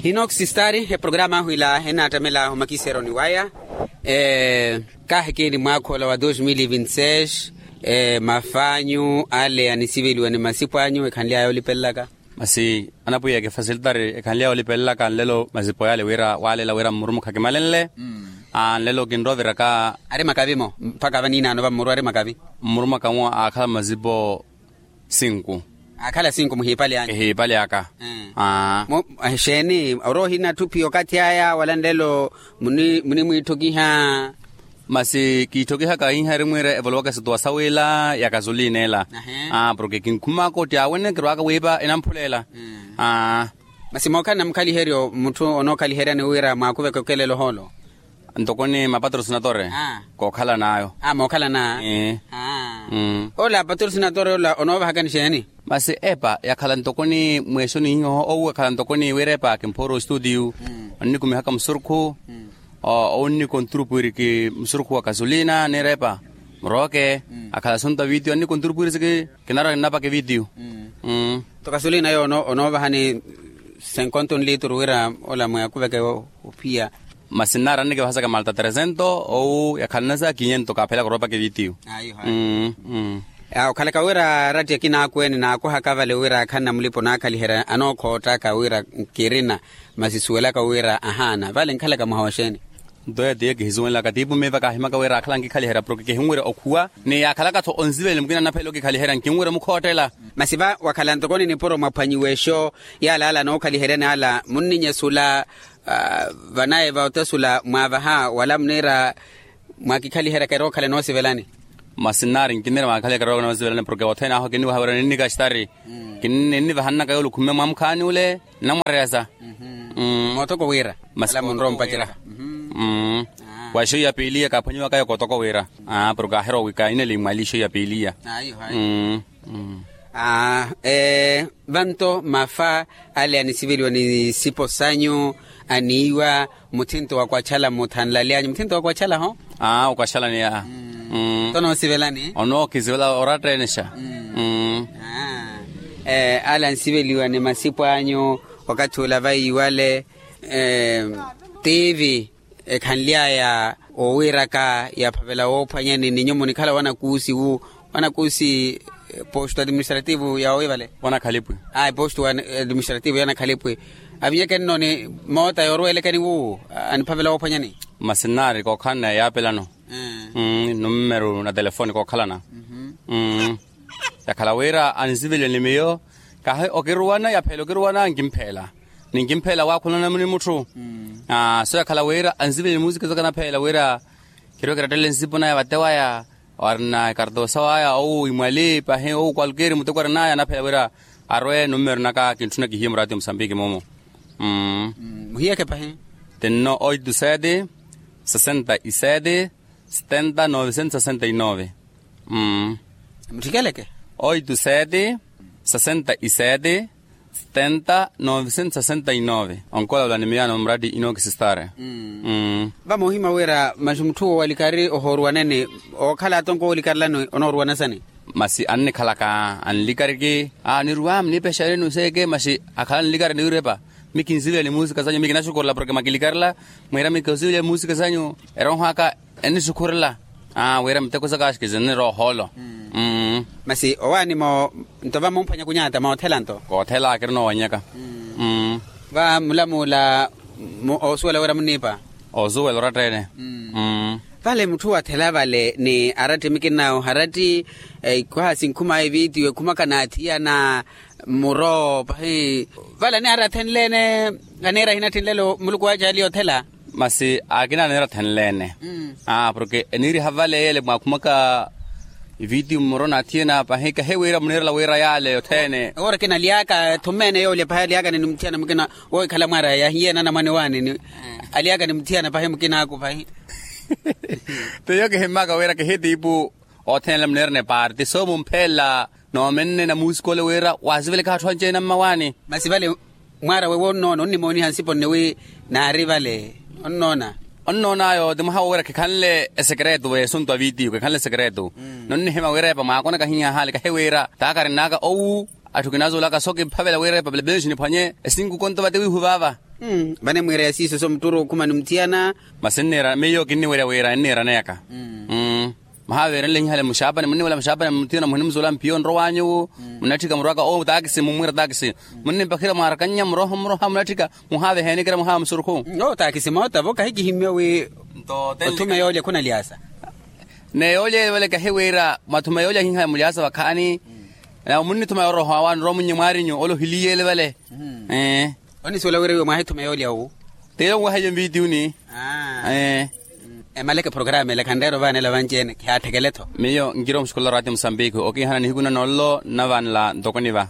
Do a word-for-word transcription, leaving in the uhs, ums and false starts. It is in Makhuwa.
Inoxi stari eprograma ahu ila enattamela omakisero ni waya. Kaahikini mwaakha ola wa dos mil vinti seis. Mafanyu ale anisiveliwa ni masipo anyu ekhanly'aya olipelelaka. Masi anapwiya kifasilitari ekhanly'aya olipelelaka nlelo masipo yale wira walela wira mmurumukha kimalenle. Nlelo kinroviraka. Ari makavi mo mpakha vaniinaano vammuru ari makavi. Mmurumukha mu aakhala masipo sinku. Aakhala sinku muhiipale anyu. Ehiipale aka. Exeeni ori ohina atthu phi okathi aya wala nlelo munimwiitthokiha? Masi kiitthokihaka iha eri mwiira evolowaka esituwa sawila ya kasulina ela. Porke kinkhumaka otti awene kirwaka wiipa enamphula ela. Masi mookhala namukhaliheryo mutthu onookhaliheryani wira mwaakuveke okelela ohoolo? Ntoko ni mapatrosinatore. Kookhalan'ayo. Mookhalan'aya. Ola patrosinatore ola onoovahakani xeeni? Masi epa yakhala ntoko ni mweexo nihiho owu yakhala ntoko ni wira epa kimphoora ostuutiyu. Onnikumihaka musurukhu. Owu nnikonturupwiriki musurukhu wa kasulina niira epa. Murooke akhala assuntu a vitiyo annikonturupwirisiki. Kinarwa kinnapaka evitiyu. Nto kasulina yo onoovahani senkonto nlituru wira ola mwaakuveke ophiya? Masi nnaari annikivahasaka malta tresento owu yakhalana sa kinhento kaaphela kuroopaka evitiyu. Okhalaka wira aratti akina akweene naakuhaka vale wira akhanna mulipa onaakhaliherya anookhottaka wira nkirina. Masi suwelaka wira ahaana vale nkhalaka mwaha wa xeeni? Nto yeeyo tiye kihisuwenlaka tiipu miiva kaahimaka wira akhala ankhikhaliherya porke kihinwerya okhuwa. Ni yaakhalaka-tho onsivelya mukina anaphela okikhaliherya nkinwerya omukhottela. Masi va wakhala ntoko ni nipuro mwaphwanyiwa exo yala ala anookhaliheryani ala munninyesula vanayi va otesula mwaavaha wala muniira mwakikhaliheryaka erookhala enoosivelani? Masi nnaari nkinniira mwakikhaliheryaka erookhala enoosivelani porke othene ahu kinnivaha wira ninnikastari. Kinnivahannaka yoole okhumme mwamukhaani ole nnamwareyasa. Mootoko wira masi ala munrowa ompacera. Wa exo ya piiliya kaaphwanyiwaka yo kootoko wira. Porke aahero wi kaineli mwali exo ya piiliya. Vanto mafa ale anisiveliwa ni sipo sanyu aniiwa muthinto wa kwachala muthanlalyanyu muthinto wa kwachala ho? Aa okwachala ni aa. Nto noosivelani? Onookisivela oratteenexa. Ale ansiveliwa ni masipo anyu wakathi ula vaiwale. Tiivi ekhanly'aya owiiraka yaphavela woophwanyani ni nyuwo munikhala wanakuusi wu wanakuusi posto administrativo ya owiivale. Wanakhalipwi. Ayi posto administrativo yanakhalipwi. Avinyeke nno ni moota yoorwelekeni wuwo aniphavela woophwanyani. Masi nnaari kookhalana yaapelano. Nummeru na telefoni kookhalana. Yakhala wira anisiveliwa ni miyo kahi okiruwana yaphela okiruwana nkimpheela. Ni nkimpheela waakhulana ni mutthu. So yakhala wira ansiveliwa ni muusika saka naphela wira kirwe kirattele nsipo naya vate waya. Warina ekartoosa waya owu imwali pahi owu kwalkeeri muteko arinaya anaphela wira arwe nummeru naka kintthuna kihiye muraati ya musambiki mumu. Muhiyeke pahi. Tinno oito sete sesenta y sete setenta novecentos sesenta y nove. Muthikeleke. Oito sete sesenta y sete setenta novecentos sesenta y nove. Onkola ola ni miyaano murati inookisistare. Vamohima wira masi mutthu wo walikari ohooruwanene ookhala atonko oolikarilani onooruwana sani? Masi annikhalaka anlikariki. Aa niruwa muniipexereni oseeke masi akhala anlikari niwirepa. Mi kinsivela ni muusika sanyu mi kinaxukurela porke makilikarela. Mwiira mi kinsivela ni muusika sanyu erooho aka ennisukhurela. Wira miteko saka axikisi nniroohoolo. Masi owaani mo nto vamumphwanya kunyata moothela nto. Koothela akirina owanyaka. Vamulamula oosuwela wira muniipa. Oosuwela oratta ene. Vale mutthu wathela vale ni aratti mikina oharatti. Ikwaha sinkhuma evitiyo ekhumaka n'athiyana. Muro pahi vale aniharathenleene. Aniira ahinathenlelo muluku wace ali othela. Masi akina anirathenleene. Porke eniiriha vale yele mwakhumaka ivitiyo mmuro n'athiyana pahi kahi wira muniirela wira yale othene. Ewora kina alyaka thumeene yoolya pahi alyaka ni muthiyana mukina wookhala mwaaraya yahiye nanamwane waani ni alyaka ni muthiyana pahi mukinaaku pahi. Tiyo kihimmaka wira kihi tiipu othene yale muniirana epaarti so mumphelela. Noomenne na muusikole wira waasivelekaha atthu anci-ene ammawaani. Masi vale mwaara wewe onnoona onnimooniha nsipo nne wi naari vale onnoona. Onnoon'ayo ti mwaha wowira khikhanle esekeretu w'esuntu a vitiyo khikhanle esekeretu. Nonnihimya wira epa mwaakonaka hiyaha ale kahi wira taakari nn'aka owu. Atthu kinazoolaka so kiphavela wira epapela penxini phwanye esinkukonto vate wiihu vaava. Vane mwiira ya siiso so mutturu okhuma ni muthiyana. Masi nniira miyo kinniwerya wira enniira neyaka. Muhaaverenle hihale muxaapani munniwela muxaapani muthiyana muhinimuzola mpiyo nrowanyu. Munatthika murwaka o taakisi mummwiira taakisi. Munnimpakhira mwaarakannya muroha muroha munatthika. Muhaaveheeni kira muhaamusurukhu. Taakisi moota vo kahi kihimmiwe wi othuma yoolya khuna lyaasa. Neyoolya evale kahi wira mwathuma yoolya hiha mulyasa vakhaani. Na munnithuma yoroha wawanorowa munnye mwaarinyu ole ohiliyele vale. Onisuwela wira iwe mwahithuma yoolya wu. Teyo nwaheyo nvitiyuni. Emaleke programa ele khanreera ovaanela vanci-ene khihaatthekele-tho. Miyo nkira omuxukulela oraati musambiki okiihana nihiku nanonlo nnavanela ntokoni va.